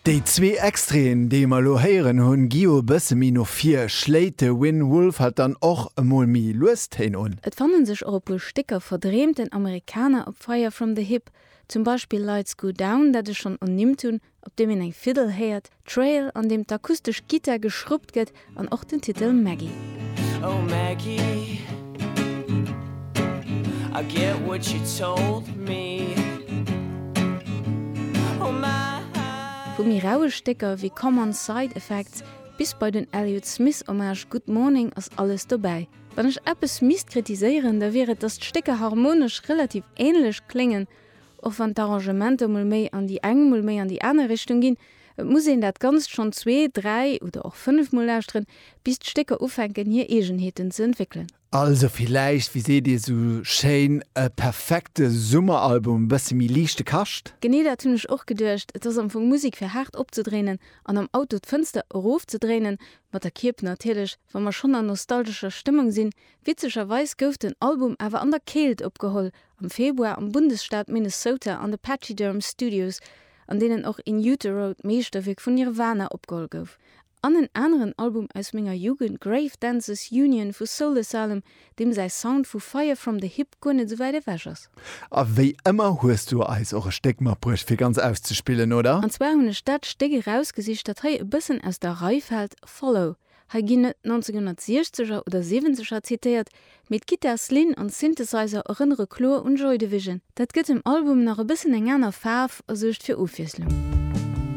Déi zwee Extraiten, déi mer elo héieren hunn, gi jo e bësse méi no vir. Schléit de Wynn Wolf halt dann och emol méi lues Téin un? Et fannen sech och e puer Stécker verdreemten Americana op Fire From The Hip, zum Beispill Lights Go Down, dat ech schonn ernimmt hunn, op deem een eng Fiddle héiert, Trail, an deem d'akustesch Gittar geschruppt gëtt an och den Titel Maggie. Oh Maggie, I get what you told me Oh my. Vu méi raue Stécker wéi Common Side Effects bis bei den Elliott Smith Hommage Good Morning ass alles dobäi. Wann ech eppes misst kritiséieren, da wier et, dass d'Stécker harmonesch relativ änlech kléngen, Och wann d'Arrangementer mol méi an déi eng, mol méi an déi aner Richtung ginn, et muss een dat Ganzt schonn zwee, dräi oder och 5 mol lauschteren, bis d'Stécker ufänken hir Eegenheeten ze entwéckelen. Also villäicht, wéi seet dir sou schéin, e perfekte Summeralbum, e bësse méi liichte Kascht? Genee dat hunn ech och geduecht. Et ass am Fong Musek fir haart opzedréinen an am Auto d'Fënster erofzedréinen, mat der Kierp natierlech, wa mer schonn an nostalgescher Stëmmung sinn. Witzegerweis gouf den Album awer an der Keelt opgeholl, am Februar am Bundesstaat Minnesota an de Pachyderm Studios, an deenen och In Utero, d'Meeschterwierk vun Nirvana, opgeholl gouf. An en aneren Album aus menger Jugend, Grave Dancers Union vu Soul Asylum, deem säi Sound vu Fire From The Hip guer net esou wäit ewech ass. A wéi ëmmer hues du eis och e Stéck matbruecht fir ganz auszespillen, oder? An zwar hunn ech dat Stéck erausgesicht, dat hei e bëssen aus der Rei fält, Follow. Hei ginn net 1960er oder Siwwenzeger zitéiert, mee d'Gittarslinn an d'Synthesizer erënnere kloer un Joy Division. Dat gëtt dem Album nach e bëssen eng aner Faarf a suergt fir Ofwiesslung.